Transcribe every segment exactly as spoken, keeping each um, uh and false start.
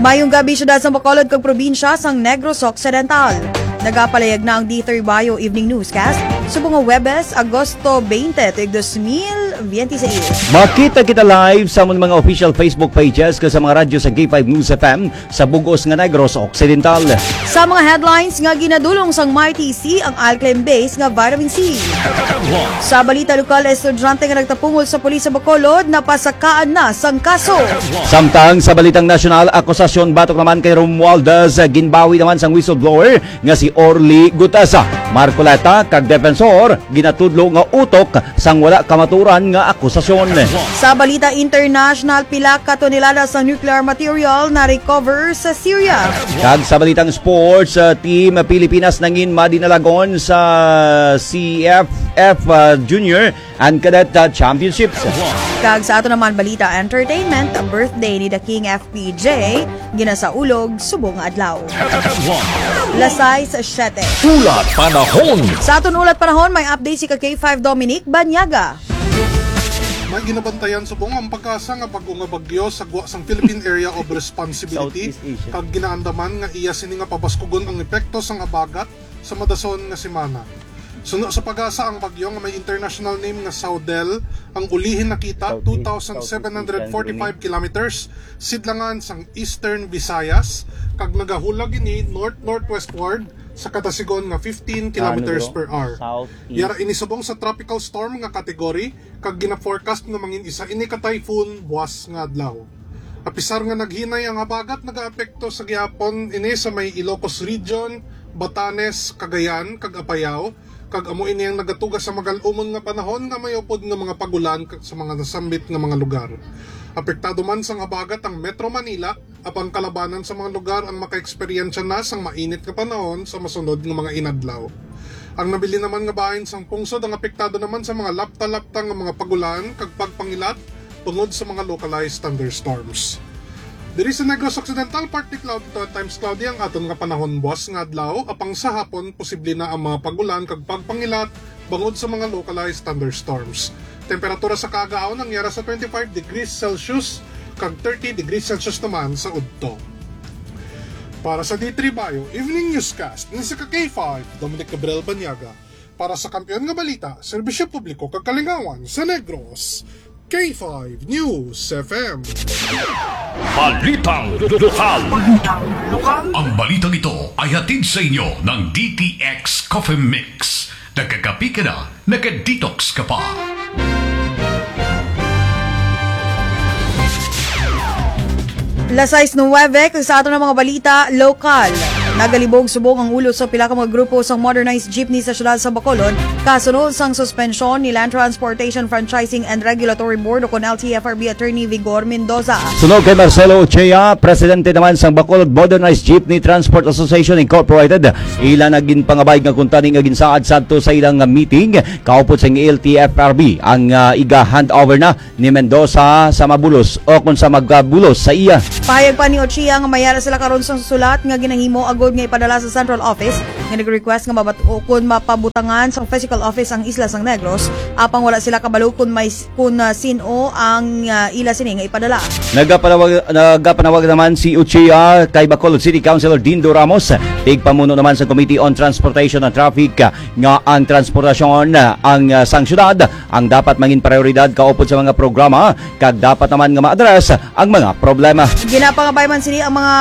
Mayong gabi, syudad sang Bacolod kag probinsya sang Negros Occidental. Nagapalayag na ang D three Bio Evening Newscast subong nga Huwebes, Agosto twenty, tuig dos mil biyente seis. Makita kita live sa amon mga official Facebook pages kag sa mga radyo sa K five News F M sa bug-os nga Negros Occidental. Sa mga headlines nga ginadulong sang Mighty C, ang alkaline base nga vitamin C. Sa balita lokal, estudyante nga nagtapungol sa pulis sa Bacolod napasakaan na sang kaso. Samtang sa balitang nasyonal, akusasyon batok naman kay Romualdez, ginbawi naman sang whistleblower nga si Orly Gutasa. Marcoleta kag defensor ginatudlo nga utok sang wala kamaturan nga akusasyon. Sa balita international, pila ka tonelada sa nuclear material na-recover sa Syria. Kag sa balitang sports, uh, Team Pilipinas nangin madinalagon sa C F F, uh, Junior and Cadet, uh, Championships. Kag sa ato naman balita entertainment, birthday ni The King F P J, ginasaulog subong nga adlaw. Las sais siyete. Ulat panahon. Sa aton ulat panahon, may update si ka K five Dominic Banyaga. May ginabantayan subong ang PAGASA nga bag-o nga bagyo sa gwa sang Philippine Area of Responsibility, Southeast Asia, kag ginaandaman nga iya sini nga pabaskugon ang epekto sang habagat sa madason nga semana. Suno sa PAGASA, ang bagyo nga may international name nga Saudel ang ulihi nakita Southeast, two thousand seven hundred forty-five kilometers sidlangan sang Eastern Visayas, kag nagahulag ini north-northwestward sa katasigon nga fifteen kilometers per hour. Southeast. Yara ini subong sa tropical storm nga category, kag gina-forecast nga mangin isa ini ka typhoon buwas nga adlaw. Apisar nga naghinay ang habagat, nagaapekto sa gihapon ini sa may Ilocos Region, Batanes, Cagayan, kag Apayao, kag amo ini ang nagatuga sa magal-umon nga panahon nga may upod nga mga pag-ulan kag sa mga nasambit nga mga lugar. Apektado man sang habagat ang Metro Manila, apang kalabanan sa mga lugar ang makaeksperyensya na sang mainit nga panahon sa masunod nga mga inadlaw. Ang nabilin naman nga bahin sang pungsod ang apektado naman sa mga lapta-lapta nga mga pag-ulan kag pagpangilat bangod sa mga localized thunderstorms. Diri sa Negros Occidental, partly cloud to at times cloudy ang aton nga panahon buwas nga adlaw, apang sa hapon posible na ang mga pag-ulan kag pagpangilat bangod sa mga localized thunderstorms. Temperatura sa kaagahaon ang yara sa twenty-five degrees Celsius kag thirty degrees Celsius naman sa udto. Para sa D three Bio Evening Newscast, ni si ka K five, Dominic Gabriel Banyaga. Para sa Kampiyon nga Balita, Serbisyo Publiko kag Kalingawan sa Negros, K five News F M. Balitang lokal. Ang balitang ito ay hatid sa inyo ng D T X Coffee Mix. Nagkakapi ka na, naka-detox ka pa. Las sais nuwebe, kag sa aton nga mga balita lokal. Nagalibog subong ang ulo sa pila ka mga grupo sa modernized jeepney sa siyudad sa Bacolod, kasunod sang suspensyon ni Land Transportation Franchising and Regulatory Board, o kon L T F R B, Attorney Vigor Mendoza. Suno kay Marcelo Ochea, presidente naman sang Bacolod Modernized Jeepney Transport Association Incorporated, ila na ginpangabay nga kuntani nga ginsaad sadto sa ilang meeting kaupod sang L T F R B ang, ah, iga-handover na ni Mendoza sa mabulos o kung sa magabulos sa iya. Pahayag pa ni Ochia nga may ara sila karon sa sulat nga ginahimo agud nga ipadala sa central office nga nag-request nga mabat-, o kun mapabutangan sa physical office ang Isla sang Negros, apang wala sila kabalo kun may s-, kun, ah, sin-o ang, ah, ila sini nga ipadala. Nagapanawag, nagapanawag naman si Ochia kay Bacolod City Councilor Dindo Ramos, tigpamuno naman sa Committee on Transportation and Traffic, nga ang transportasyon, ah, ang, ah, sang syudad ang dapat mangin prioridad kaupod sa mga programa, kag dapat naman nga ma-address ang mga problema. Ginapangabay man sini ang mga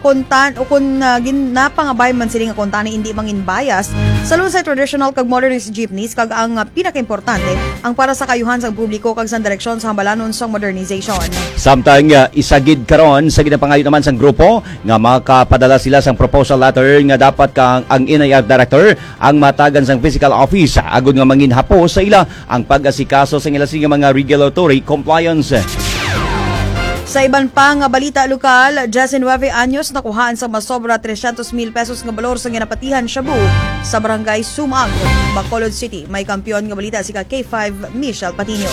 kuntan-, o kun, ah, ginapangabay man sini nga kuntani indi mangin bias sa lunsay traditional kag modernized jeepneys, kag ang, ah, pinakaimportante, ang para sa kaayuhan sang publiko kag sa direksyon sa hambalanon sang modernization. Samtang, ah, isa gid karon sa ginapangayo naman sang grupo nga makapadala sila sang proposal letter nga dapat kang ang N I R director ang matagan sang physical office agud nga mangin hapos sa ila ang pag-asikaso sa ila sini nga mga regulatory compliance. Sa iban pa nga balita lokal, diyesinuwebe anyos nakuhaan sa masobra trescientos mil pesos nga balor sa ginapatihan shabu sa Barangay Sumag, Bacolod City. May kampiyon nga balita si ka K five Michelle Patiño.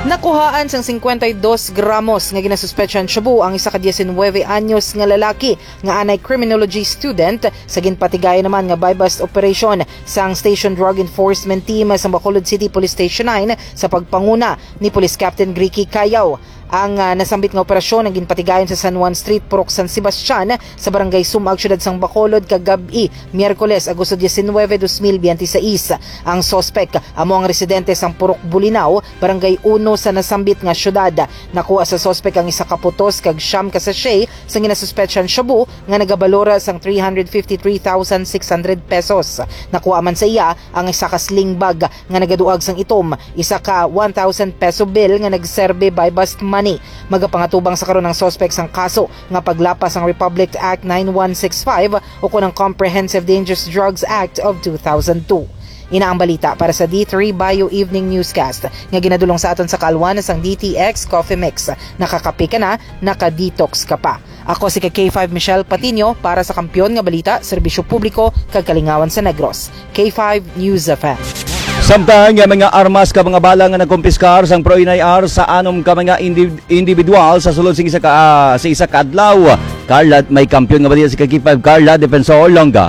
Nakuhaan sang cincuenta y dos gramos nga ginasuspetsahan shabu ang isa ka diyesinuwebe anyos nga lalaki nga anay criminology student sa ginpatigayon naman nga buy-bust operation sang Station Drug Enforcement Team sa Bacolod City Police Station nine sa pagpanguna ni Police Captain Ricky Cayaw. Ang, ah, nasambit nga operasyon ang ginpatigayon sa San Juan Street, Purok San Sebastian, sa Barangay Sumag, Siyudad sang Bacolod, kagab-i, Miyerkules, Agosto diecinuebe, dos mil biyente seis. Ang suspek amo ang residente sang Purok Bulinaw, Barangay Uno sa nasambit nga siyudad. Nakuha sa suspek ang isa ka putos kag siyam ka sachet sang ginasuspetsyan shabu nga nagabalora sang three hundred fifty-three thousand six hundred pesos. Nakuha man sa iya ang isa ka sling bag nga nagaduag sang itom, isa ka one thousand peso bill nga nagserbi by bust money. Magapangatubang sa karon ang suspek sang kaso nga paglapas sang Republic Act nine one six five ukon ang Comprehensive Dangerous Drugs Act of two thousand two. Ina ang balita para sa D three Bio Evening Newscast nga ginadulong sa aton sa kaalwan sang D T X Coffee Mix. Nakakape ka na, naka-detox ka pa. Ako si ka K five Michelle Patino para sa Kampiyon nga Balita, Serbisyo Publiko, kag Kalingawan sa Negros. K five News F M. Samtang nga mga armas ka mga bala nga nakumpiskar sang Pro Inay R sa anom ka mga indi-, individual sa sulod sing isa ka, ah, sa isa ka adlaw. Carla, may kampiyon nga balita si ka K five Carla Defensor Longa.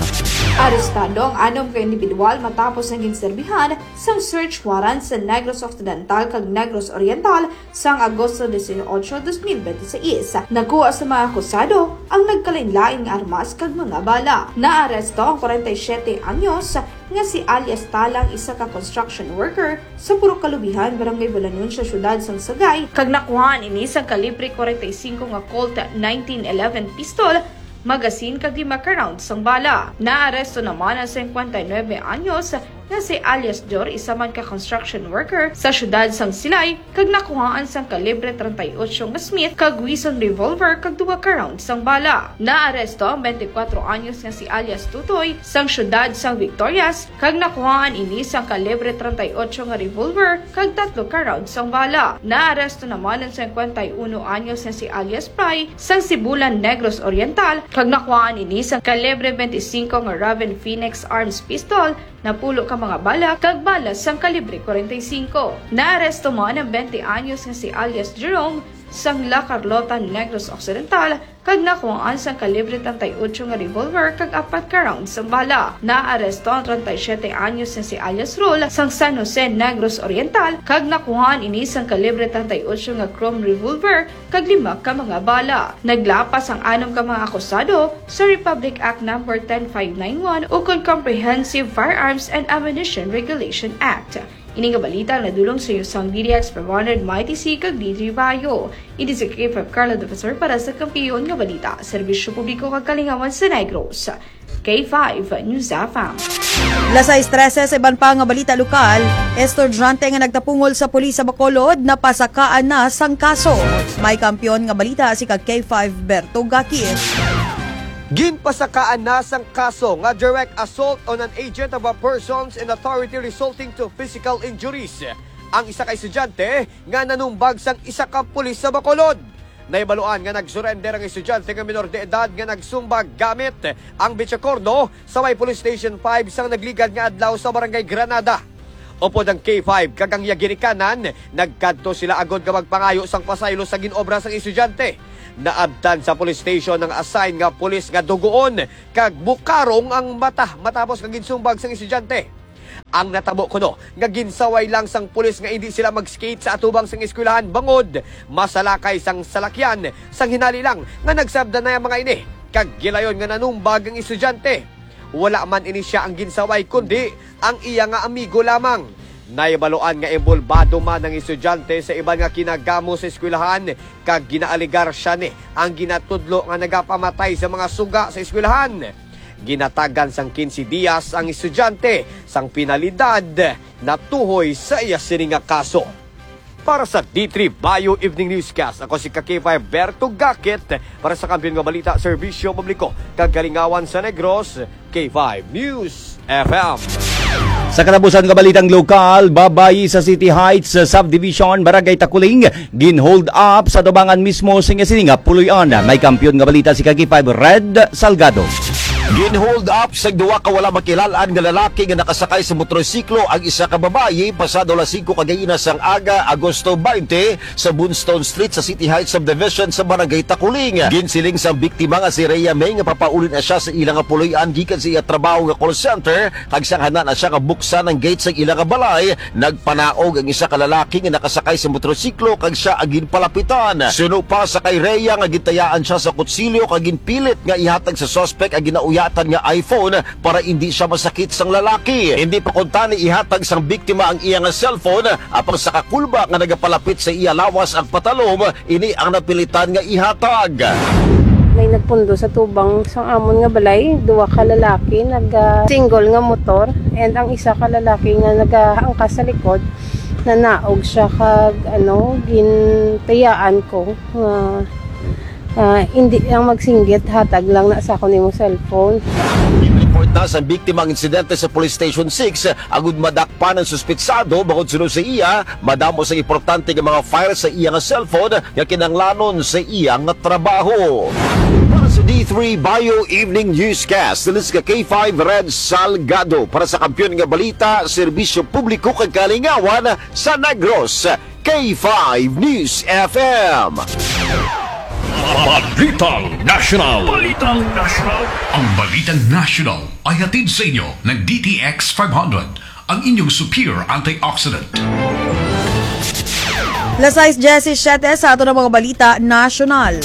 Arestado ang anom ka individual matapos nga ginserbihan sang search warrant sa Negros Occidental kag Negros Oriental sang Agosto dieciocho, dos mil bente seis. Nakuha sa mga akusado ang nagkalainlain nga armas kag mga bala. Naaresto ang kwarenta y siyete anyos nga si alias Talang, isa ka construction worker sa Purok Kalubihan, Barangay Bulanon sa siyudad sang Sagay, kag nakuhaan ini sang kalibre kwarenta y singko nga Colt nineteen eleven pistol, magazine kag lima ka round sang bala. Naaresto naman ang singkwenta y nuebe anyos nga si alias Jor, isa man ka construction worker sa siyudad sang Silay, kag nakuhaan sang kalibre treinta y ocho nga Smith kag Wison revolver kag duha ka round sang bala. Naaresto ang twenty-four anyos nga si alias Tutoy sang siyudad sang Victorias, kag nakuhaan ini sang kalibre treinta y ocho nga revolver kag tatlo ka round sang bala. Naaresto naman ang singkwenta y uno anyos nga si alias Pray sang Sibulan, Negros Oriental, kag nakuhaan ini sang kalibre twenty-five nga Raven Phoenix Arms Pistol, napulo ka mga bala, kag bala sang kalibre kwarenta y singko. Naaresto man ang twenty anyos nga si alias Jerome sang La Carlota, Negros Occidental, kag nakuhaan sang kalibre treinta y ocho nga revolver kag apat ka rounds sang bala. Naaresto ang treinta y siete anyos nga si alias Rol sang San Jose, Negros Oriental, kag nakuhaan ini sang kalibre treinta y ocho nga chrome revolver kag lima ka mga bala. Naglapas ang anom ka mga akusado sa Republic Act Number ten five nine one ukon Comprehensive Firearms and Ammunition Regulation Act. Ini nga balita ang nadulong sa iyo sang D D X five hundred, Mighty C, kag D three Bio. Ini si K five Carla Defensor para sa Kampiyon nga Balita, Serbisyo Publiko kag Kalingawan sa Negros. K five News F M. Las sais trese sa iban pa nga balita lokal, estudyante nga nagtapungol sa pulis sa Bacolod napasakaan na sang kaso. May kampiyon nga balita si ka K five Berto Gakis. Ginpasakaan na sang kaso nga direct assault on an agent of a person's in authority resulting to physical injuries ang isa ka estudyante nga nanumbag sang isa ka pulis sa Bacolod. Nahibaluan nga nag-surrender ang estudyante nga minor de edad nga nagsumbag gamit ang bitsakorno sa may Police Station five sang nagligad nga adlaw sa Barangay Granada. Upod ang K five kag ang iya ginikanan, nagkadto sila agod nga magpangayo sang pasaylo sa ginobra sang estudyante. Naabtan sa police station ang assign nga pulis nga dugoon kag bukarong ang mata matapos nga ginsumbag sang estudyante. Ang natabo kuno nga ginsaway lang sang pulis nga indi sila mag-skate sa atubang sang eskwelahan bangod masalakay sang salakyan, sang hinali lang nga nagsabdanay ang mga ini kag gilayon nga nanumbag ang estudyante. Wala man ini sia ang ginsaway, kundi ang iya nga amigo lamang. Nahibaluan nga inbolbado man ang estudyante sa iban nga kinagamo sa eskwelahan kag ginaalegar sia ni ang ginatudlo nga nagapamatay sa mga suga sa eskwelahan. Ginatagan sang quince dias ang estudyante sang penalidad natuhoy sa iya sini nga kaso. Para sa D three Bio Evening Newscast, ako si ka K five Berto Gakit para sa Kampiyon nga Balita, Serbisyo Publiko, kag Kalingawan sa Negros, K five News F M. Sa katapusan nga balitang lokal, babayi sa City Heights Subdivision, Barangay Takuling, gin-hold up sa tubangan mismo sing sini nga puloy-on. May kampiyon nga balita si ka K five Red Salgado. Gin-hold up sa duwa ka wala makilal-an nga lalaki nga nakasakay sa motorsiklo ang isa ka babayi pasado alas singko kagaina sang aga, Agosto twenty, sa Bunstone Street sa City Heights Subdivision sa Barangay Takuling. Ginsiling sang biktima nga si Rhea May nga papauli na siya sa ila nga puloy-an gikan sa iya trabaho nga call center, kag siyang hana na siya nga buksan ang gate sang ila nga balay, nagpanaog ang isa ka lalaki nga nakasakay sa motorsiklo kag siya ang ginpalapitan. Suno pa sa kay Rhea nga gintayaan siya sa kutsilyo kag ginpilit nga ihatag sa suspek ang ginauyatan nga iPhone para indi siya masakit sang lalaki. Hindi pa kuntani ihatag sang biktima ang iya nga cellphone, apang sa kakulba nga nagapalapit sa iya lawas ang patalom, ini ang napilitan nga ihatag. May nagpundo sa tubang sang amon nga balay, duwa ka lalaki nag ah, single nga motor, and ang isa ka lalaki nga nagaangkas sa likod, nanaog siya kag ano, gintayaan ko nga ah, hindi lang magsinggit, hatag lang na sa akon imong cellphone. Report na sa biktima ang insidente sa Police Station six, agud madakpan ang suspitsado. Bangod suno sa iya, madamo sa importante nga mga file sa iya nga cellphone nga kinahanglanon sa iya nga trabaho. Para sa D three Bio Evening Newscast, this is ka K five Red Salgado. Para sa Kampiyon nga Balita, Serbisyo Publiko kag Kalingawan sa Negros, K five News F M. Balitang National. Balitang National. Ang Balitang National ay hatid sa inyo ng D T X five hundred, ang inyong superior antioxidant. Las sais diyesisiyete sa ato na mga balita nasyonal.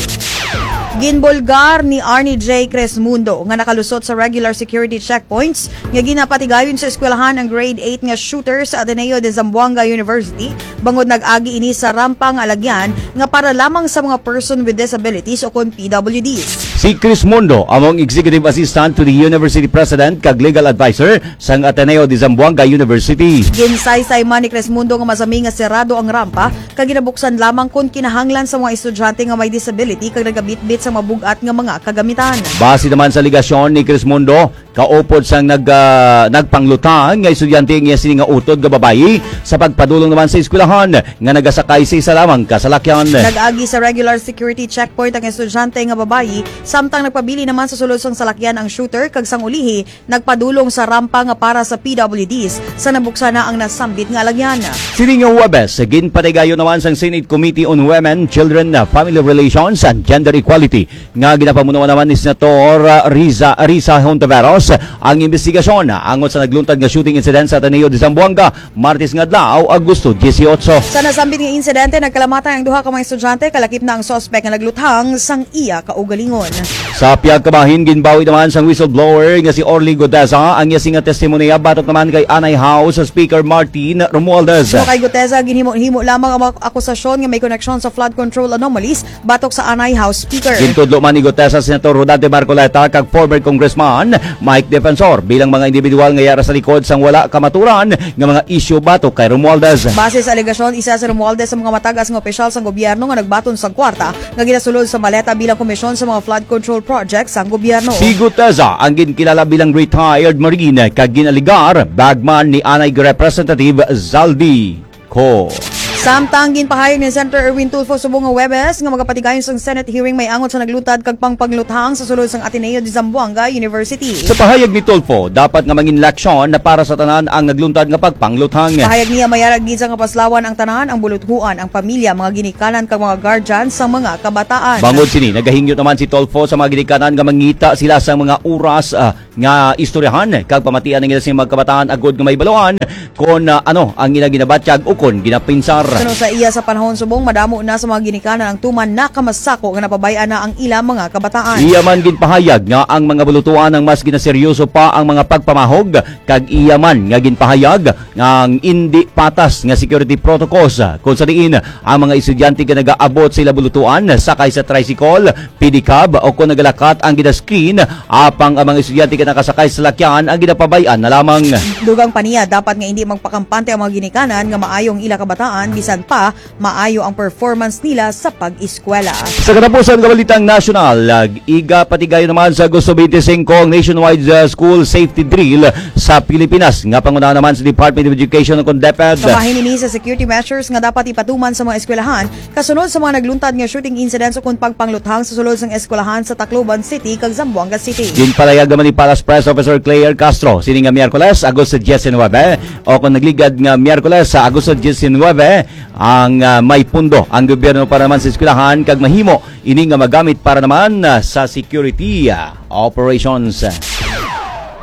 Ginbulgar ni Arnie J. Cresmundo nga nakalusot sa regular security checkpoints nga ginapatigayon sa eskwelahan ang grade eight nga shooter sa Ateneo de Zamboanga University bangod nag-agi ini sa rampa nga alagyan nga para lamang sa mga person with disabilities o kon P W Ds. Si Cresmundo amo ang Executive Assistant to the University President kag Legal Advisor sang Ateneo de Zamboanga University. Ginsaysay man ni Cresmundo nga masami nga serado ang rampa kag ginabuksan lamang kon kinahanglan sa mga estudyante nga may disability kag nagabitbit sa mabug-at nga mga kagamitan. Base naman sa alegasyon ni Cresmundo, kaupod sang nag, ah, nagpanglutang nga estudyante ang iya sini nga utod nga babayi sa pagpadulong naman sa eskwelahan nga nagasakay sa isa lamang ka salakyan. Nag-agi sa regular security checkpoint ang estudyante nga babayi, samtang nagpabilin naman sa sulod sang salakyan ang shooter kag sang ulihi nagpadulong sa rampa nga para sa P W Ds sa nabuksan na ang nasambit nga alagyan. Sini nga Huwebes, ginpatigayon naman sang Senate Committee on Women, Children, Family Relations, and Gender Equality nga ginapamunuan naman ni Senator Risa, Risa Hontiveros ang investigasyon angot sa nagluntad nga shooting incident sa Ateneo de Zamboanga Martes nga adlaw, Agosto dieciocho. Sa nasambit nga insidente, nagkalamatan ang duha ka mga estudyante, kalakip na ang suspek nga nagluthang sang iya kaugalingon. Sa pihak ka bahin, ginbawi naman sang whistleblower nga si Orly Guteza ang iya sini nga testimonya batok naman kay Anay House Speaker Martin Romualdez. Suno kay Guteza, ginhimo-himo lamang ang mga akusasyon nga may koneksyon sa flood control anomalies batok sa Anay House Speaker. Gintudlo man ni Guteza si Senator Rodante Marcoleta kag former Congressman Mike Defensor bilang mga individual nga yara sa likod sang wala kamaturan nga mga isyu batok kay Romualdez. Base sa alegasyon, isa si Romualdez sa mga matagas nga opisyal sang gobyerno nga nagbaton sang kwarta nga ginasulod sa maleta bilang komisyon sa mga flood control project sang gobyerno. Si Guteza ang ginkilala bilang retired Marine kag ginaligar bagman ni anay Representative Zaldy ko. Samtang ginpahayag ni Senator Erwin Tulfo subong nga Huwebes nga magapatigayon sang Senate hearing may angot sa nagluntad kag pangpangluthang sa sulod sang Ateneo de Zamboanga University. Sa pahayag ni Tulfo, dapat nga mangin leksyon na para sa tanan ang nagluntad nga pagpangluthang. Pahayag niya, mayara gid sa kapaslawan ang tanan, ang buluthuan, ang pamilya, mga ginikanan kag mga guardian sa mga kabataan. Bangod sini, nagahingyo naman si Tulfo sa mga ginikanan nga mangita sila sa mga oras, ah, nga istoryahan kag pamatian ang ila sing mga kabataan agod nga mahibaluan kon, ah, ano ang ila ginabatyag ukon ginapinsar. Suno sa iya, sa panahon subong madamo na sa mga ginikanan ang tuman nakamasako nga napabay-an na ang ila mga kabataan. Iya man ginpahayag nga ang mga bulutuan ang mas ginaseryoso pa ang mga pagpamahog, kag iya man nga ginpahayag nga ang indi patas nga security protocols, kung sa diin ang mga estudyante nga nagaabot sa ila bulutuan sakay sa tricycle, pedicab o kon nagalakat ang gina-screen, apang ang mga estudyante nga nakasakay sa salakyan ang ginapabay-an na lamang. Dugang pa niya, dapat nga hindi magpakampante ang mga ginikanan nga maayo ang ila kabataan, bisan pa maayo ang performance nila sa pag-eskwela. Sa katapusan nga balitang nasyonal, igapatigayon naman sa Agosto twenty-five ang nationwide, uh, school safety drill sa Pilipinas, nga pangunahan naman sa Department of Education o kon DepEd. Kabahin ini sa security measures nga dapat ipatuman sa mga eskwelahan kasunod sa mga nagluntad nga shooting incidents o kon pagpangluthang sa sulod sang eskwelahan sa Tacloban City kag Zamboanga City. Ginpalahayag naman ni Palas Press Officer Claire Castro, sini nga Miyerkules, Agosto diecinuebe, o kon nagligad nga Miyerkules sa Agosto diecinuebe, ang, ah, may pundo ang gobyerno para naman sa eskwelahan kag mahimo ini nga magamit para naman, ah, sa security, ah, operations.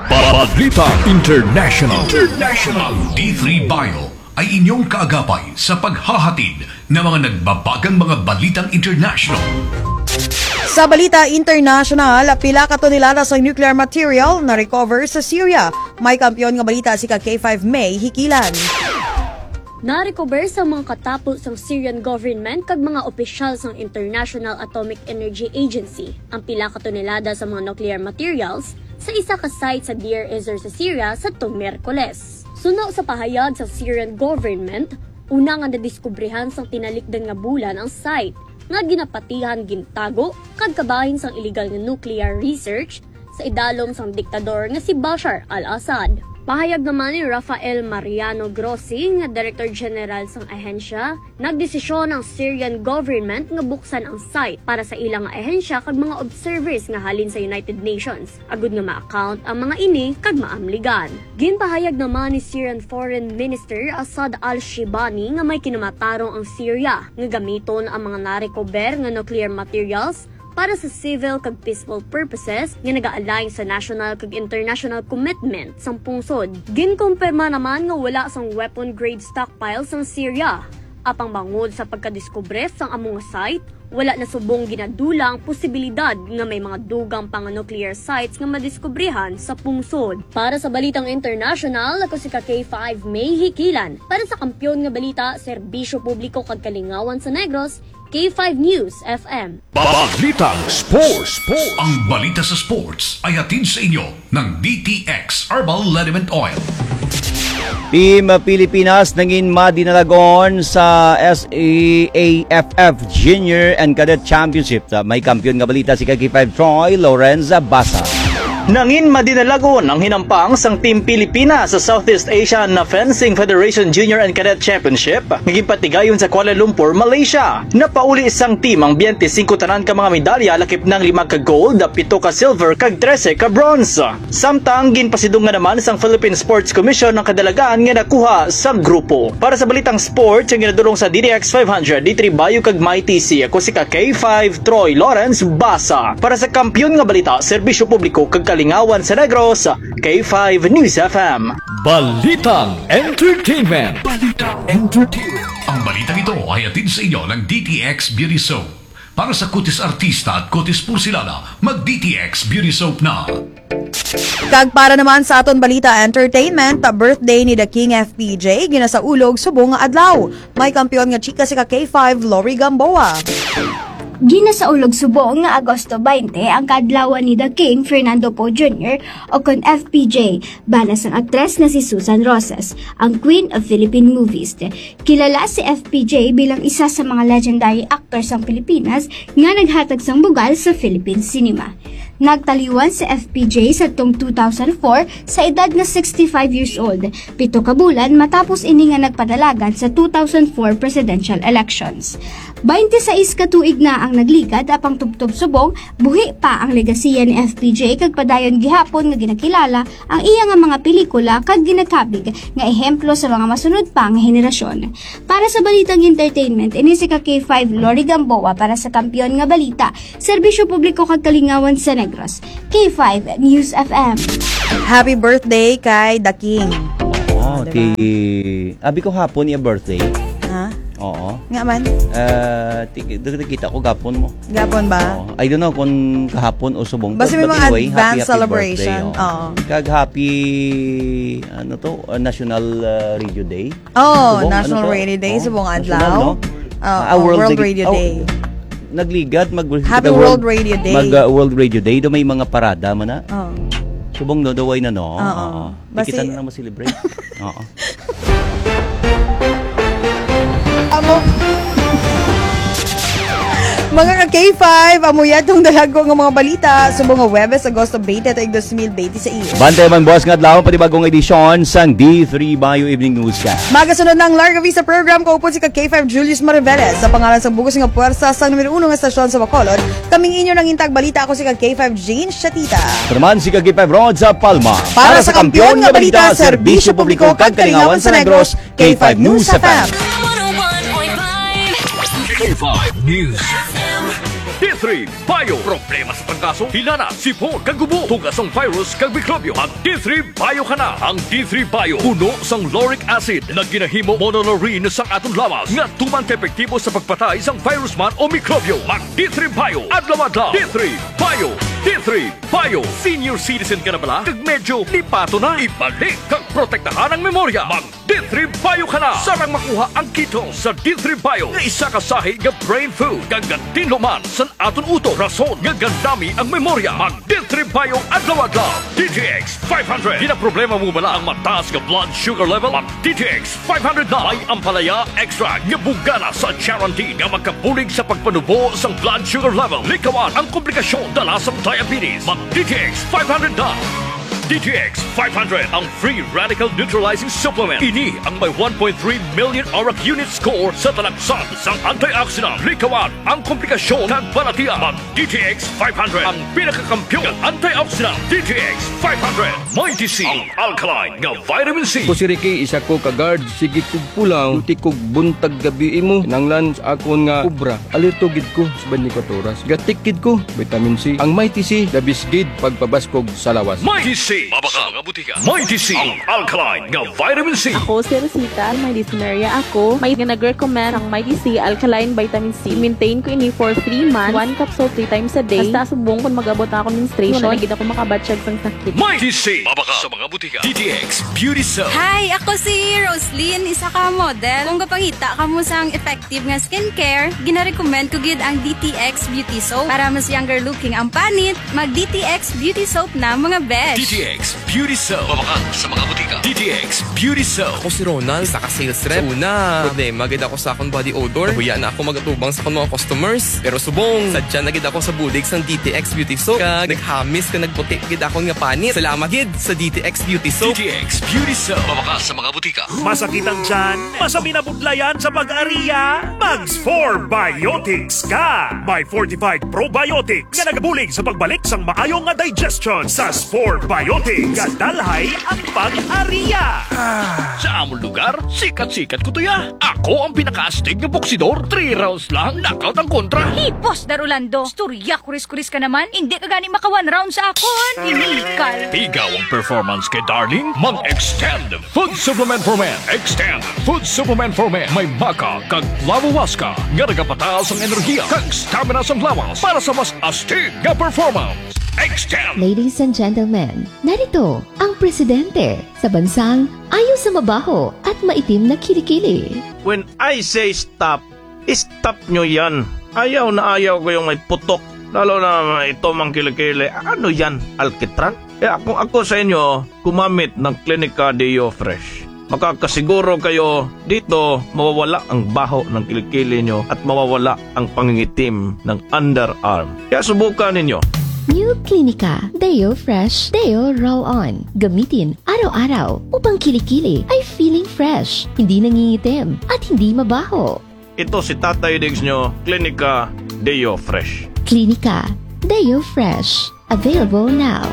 Balita International. International. D three Bio ay inyong kaagapay sa paghahatid ng mga nagbabagang mga balitang international. Sa balita international, pila ka tonelada sa nuclear material na-recover sa Syria. May kampiyon nga balita si ka K five May Hikilan. Na-recover sa mga katapo sang Syrian government kag mga opisyal sang International Atomic Energy Agency ang pila ka tonelada sa mga nuclear materials sa isa ka site sa Deir Ezzor sa Syria sadtong Miyerkules. Suno sa pahayag sa Syrian government, una nga nadiskubrihan sang tinalikdan nga bulan ang site nga ginapatihan gintago kag kabahin sang illegal nga nuclear research sa idalom sang diktador nga si Bashar al-Assad. Pahayag naman ni Rafael Mariano Grossi, nga Director General sang ahensya, nagdesisyon ang Syrian government nga buksan ang site para sa ilang ahensya kag mga observers nga halin sa United Nations, agud nga ma-account ang mga ini kag maamligan. Ginpahayag naman ni Syrian Foreign Minister Asad al-Shibani nga may kinamatarong ang Syria nga gamiton ang mga narecover nga nuclear materials para sa civil kag peaceful purposes nga naga-align sa national kag international commitment sang pungsod. Ginkumpirma naman nga wala sang weapon-grade stockpile sang Syria. Apang bangod sa pagkadiskubre sang amo nga site, wala na subong ginadula ang posibilidad nga may mga dugang pa nga nuclear sites nga madiskubrihan sa pungsod. Para sa balitang international, ako si ka K five May Hikilan. Para sa Kampiyon nga Balita, Serbisyo Publiko kag Kalingawan sa Negros, K five News F M. Balitang Sports. Ang balita sa sports ay hatid sa inyo ng D T X Herbal Liniment Oil. Team Pilipinas nangin madinalagon sa S A F F Junior and Cadet Championship. May kampiyon nga balita si ka K five Troy Lorenza Basa. Nangin madinalagon ang hinampang sang Team Pilipinas sa Southeast Asian Fencing Federation Junior and Cadet Championship nga ginpatigayon sa Kuala Lumpur, Malaysia. Napauli sang team ang twenty-five tanan ka mga medalya, lakip nang lima ka gold, pito ka silver, kag trese ka bronze. Samtang ginpasidungan naman sang Philippine Sports Commission ang kadalagan nga nakuha sa grupo. Para sa balitang sports, ang ginadulong sa D D X five hundred, D three Bayo kag Mighty C, ako si ka K five Troy Lawrence Basa. Para sa Kampiyon nga Balita, Serbisyo Publiko kag Kalingawan sa Negros, K five News F M. Balitang Entertainment. Balitang Entertainment. Ang balitang ito ay hatid sa inyo ng D T X Beauty Soap. Para sa kutis artista at kutis porselana, mag D T X Beauty Soap na. Kag para naman sa aton balita entertainment, birthday ni The King F P J, ginasaulog subong nga adlaw. May kampiyon nga chika si ka K five Lori Gamboa. Ginasaulog subong nga Agosto twenty ang kaadlawan ni The King Fernando Poe Junior o kon F P J, bana sang aktres nga si Susan Roses, ang Queen of Philippine Movies. Kilala si F P J bilang isa sa mga legendary actor sang Pilipinas nga naghatag sang bugal sa Philippine cinema. Nagtaliwan si F P J sadtong two thousand four sa edad nga sixty-five years old, pito ka bulan matapos ini nga nagpadalagan sa two thousand four presidential elections. Twenty-sais ka tuig na ang nagligad, apang tubtob subong buhi pa ang legasiya ni F P J, kag padayon gihapon nga ginakilala ang iya nga mga pelikula kag ginakabig nga ehemplo sa mga masunod pa nga henerasyon. Para sa balitang entertainment, ini si ka K five Lori Gamboa para sa Kampiyon nga Balita, Serbisyo Publiko kag Kalingawan sa Negros, K five News F M. Happy birthday kay The King. Oo, Oh, diba? ti-, abi ko hapon iya birthday. Ha? Oo. Nga man? Ah, ti-, nakita ko gapon mo. Gapon ba? Oo. I don't know kung kahapon o subong. Basta may But mga anyway, happy, advance happy celebration. Birthday, oh. Oo. Kag happy, ano to, uh, National, uh, Radio Day. Oh, Subong, National ano to? Radio Day, Oh, subong national, adlaw. No? Oh, Ah, oh, World World Reg-, Radio oh, Day. Nagligad, mag Happy mag- World Radio Day. Mag, uh, World Radio Day, do may mga parada man na. Oh. Subong no, the way na, no? Oo. Oo. Di kita Basi- na lang ma-celebrate. Oo. Amo. Mga ka K five, amo ya tong dalagko nga mga balita subong nga Huwebes, Agosto twenty, tuig dos mil benti sa iyo. Bantay man buwas nga adlaw, panibagong edisyon sang D three Bio Evening Newscast. Magasunod na ang Larga Vista Program, kaupod si ka K five Julius Mariveles. Sa pangalan sang bugos nga puwersa sang numero uno nga estasyon sa Bacolod, kaming inyo nangintag balita, ako si ka K five Jean Shatita. Pero man si ka K five Rod sa Palma. Para sa kampiyon nga balita, serbisyo publiko, kag kalingawan sa Negros, K five News F M. K five News F M. D three Bio. Problema sa trangkaso, hilana, sipon, kag gubo, tugas sang virus kag mikrobyo. Mag D three Bio ka na. Ang D three Bio puno sang lauric acid nga ginahimo monolaurin sang aton lawas nga tuman ka epektibo sa pagpatay sang virus man o mikrobyo. Mag D three Bio adlaw-adlaw. D three Bio. D three Bio. Senior citizen ka na bala? Kag medyo lipato na? Ibalik kag protektahan ang memorya. Mag D three Bio ka na. Sarang makuha ang ketone sa D three Bio nga isa ka sahi nga brain food kag gatinlo man sa aton utok, rason nga gandami ang memorya. Mag D three Bio adlaw-adlaw. D T X five hundred. Ginaproblema mo bala ang mataas nga blood sugar level? Mag D T X five hundred na. May ampalaya extract nga bugana sa charantin nga makabulig sa pagpanubo sang blood sugar level. Likawan ang komplikasyon dala sang diabetes. Mag D T X five hundred na. D T X five hundred, ang free radical neutralizing supplement. Ini ang may one point three million arak unit score sa talaksan sang antioxidant. Likawan ang komplikasyon kag balatian. Mag D T X five hundred, ang pinakakampiyon nga antioxidant. D T X five hundred. Mighty C, ang alkaline nga vitamin C. Ako si Ricky, isa ko ka guard. Sige kog pulang, duty kog buntag gabi imo. Kinahanglan sa akon nga obra, alerto gid ko sa twenty-four oras. Gatik gid ko, vitamin C. Ang Mighty C, the best gid pagpabaskog sa lawas. Mighty C, mabaka nga butika. Mighty C, ang alkaline nga vitamin C. Ako si Rosita, may dysmenorrhea ako. May nga nag-recommend ang Mighty C alkaline vitamin C. Maintain ko ini for three months. One capsule three times a day. Hasta subong kung mag-abot na akong menstruation, wala na gid ako makabatyag sang sakit. Mighty C, mabaka sa mga butika. D T X Beauty Soap. Hi, ako si Roslyn, isa ka model. Kung gapangita kamo sang effective nga skincare, ginarecommend ko gid ang D T X Beauty Soap. Para mas younger looking ang panit, mag D T X Beauty Soap na, mga besh. D T X Beauty Soap. Mabakal sa mga butika. D T X Beauty Soap. Ako si Ronald, isa ka sales rep. Sa una, problema gid ako sa akong body odor. Nahuya na ako mag-atubang sa akong mga customers. Pero subong, sadya na gid ako sa bulig sang D T X Beauty Soap. Kag naghamis kag nagputi gid akon nga panit. Salamat gid sa D T X Beauty Soap. D T X Beauty Soap. Mabakal sa mga butika. Masakit ang tiyan? Masabi na budlayan sa pag-ariya? Mag Spore Biotics ka! May fortified probiotics nga nagabulig sa pagbalik sang maayo nga digestion. Sa Spore Biotics, gadalhay ang pag-ariya. Sa amon lugar, sikat-sikat ko to ya. Ako ang pinakaastig nga boksidor. Three rounds lang, knockout ang kontra. Hipos, Dar Orlando. Istorya, kuris-kuris ka naman. Hindi ka gani maka one round sa akon. Inikal. Pigaw ang performance kay Darling. Mag-Extend Food Supplement for Men. Extend Food Supplement for Men. May maca kag flavowaska nga nagapataas ang enerhiya kag stamina sa lawas para sa mas astig nga performance. Extend. Ladies and gentlemen, narito ang presidente sa bansang ayo sa mabaho at maitim na kilikili. When I say stop, stop nyo yan. Ayaw na ayaw ko yung may putok. Lalo na ito mang kilikili. Ano yan? Alkitran? Kaya kung ako sa inyo, gumamit ng Clinica Deo Fresh. Makakasiguro kayo dito mawawala ang baho ng kilikili nyo at mawawala ang pangingitim ng underarm. Kaya subukan ninyo. New Clinica Deo Fresh Deo Roll On. Gamitin araw-araw upang kilikili ay feeling fresh, hindi nangingitim, at hindi mabaho. Ito si Tatay Diggs nyo, Clinica Deo Fresh. Clinica Deo Fresh. Available now.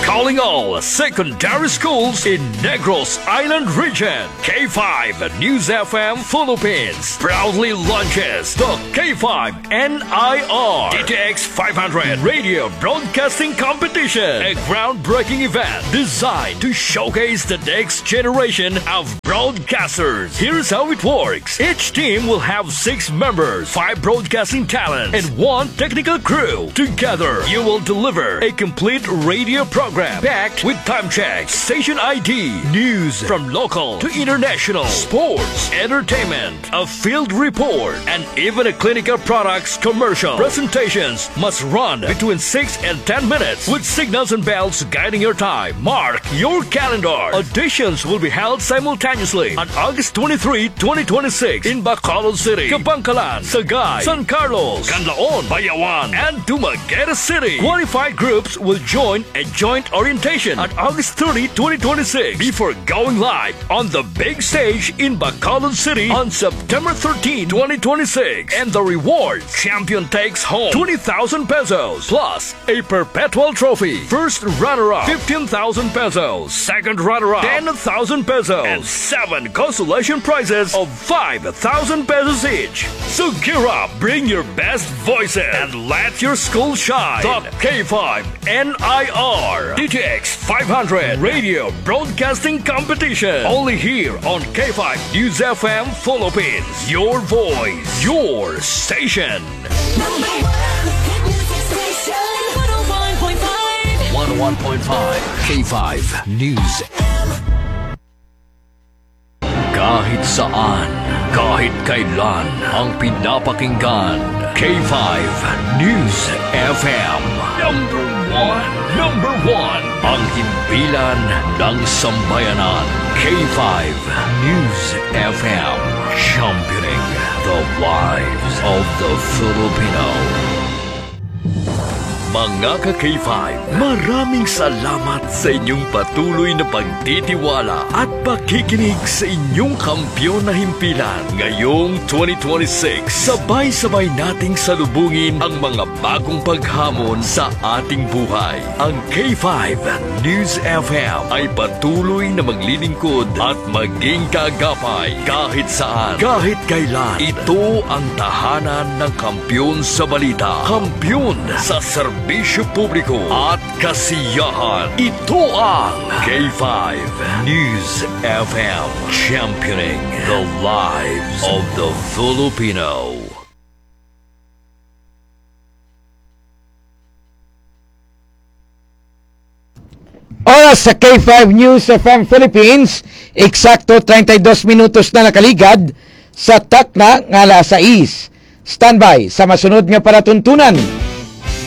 Calling all secondary schools in Negros Island Region. K five News F M Philippines proudly launches the K five N I R D T X five hundred Radio Broadcasting Competition, a groundbreaking event designed to showcase the next generation of broadcasters. Here's how it works. Each team will have six members, five broadcasting talents, and one technical crew. Together, you will deliver a complete radio program Packed with time check, station I D, news from local to international, sports, entertainment, a field report, and even a clinical products commercial. Presentations must run between six and ten minutes with signals and bells guiding your time. Mark your calendar. Auditions will be held simultaneously on August twenty-three, twenty twenty-six in Bacolod City, Kabankalan, Sagay, San Carlos, Canlaon, Bayawan, and Dumaguete City. Qualified groups will join a joint orientation on August thirty, twenty twenty-six, before going live on the big stage in Bacolod City on September thirteenth, twenty twenty-six. And the reward: champion takes home twenty thousand pesos plus a perpetual trophy. First runner-up, fifteen thousand pesos. Second runner-up, ten thousand pesos. And seven consolation prizes of five thousand pesos each. So gear up, bring your best voices, and let your school shine. The K five N I R D T X five hundred Radio Broadcasting Competition. Only here on K five News F M Philippines. Your voice, your station. Number one hit music station. One oh one point five. One oh one point five K five News. Kahit saan, kahit kailan, ang pinapakinggan, K five News F M. Number one, number one, ang himpilan ng sambayanan, K five News F M, championing the lives of the Filipino. Mga ka-K five, maraming salamat sa inyong patuloy na pagtitiwala at pakikinig sa inyong kampiyon na himpilan. Ngayong twenty twenty-six, sabay-sabay nating salubungin ang mga bagong paghamon sa ating buhay. Ang K five News F M ay patuloy na maglilingkod at maging kaagapay kahit saan, kahit kailan. Ito ang tahanan ng kampiyon sa balita, kampiyon sa serbisyo publiko at kasiyahan. Ito ang K five News F M, championing the lives of the Filipino. Oras sa K five News F M Philippines, eksakto treinta y dos minutos na nakaligad sa takna nga alas sais. Standby sa masunod nga palatuntunan.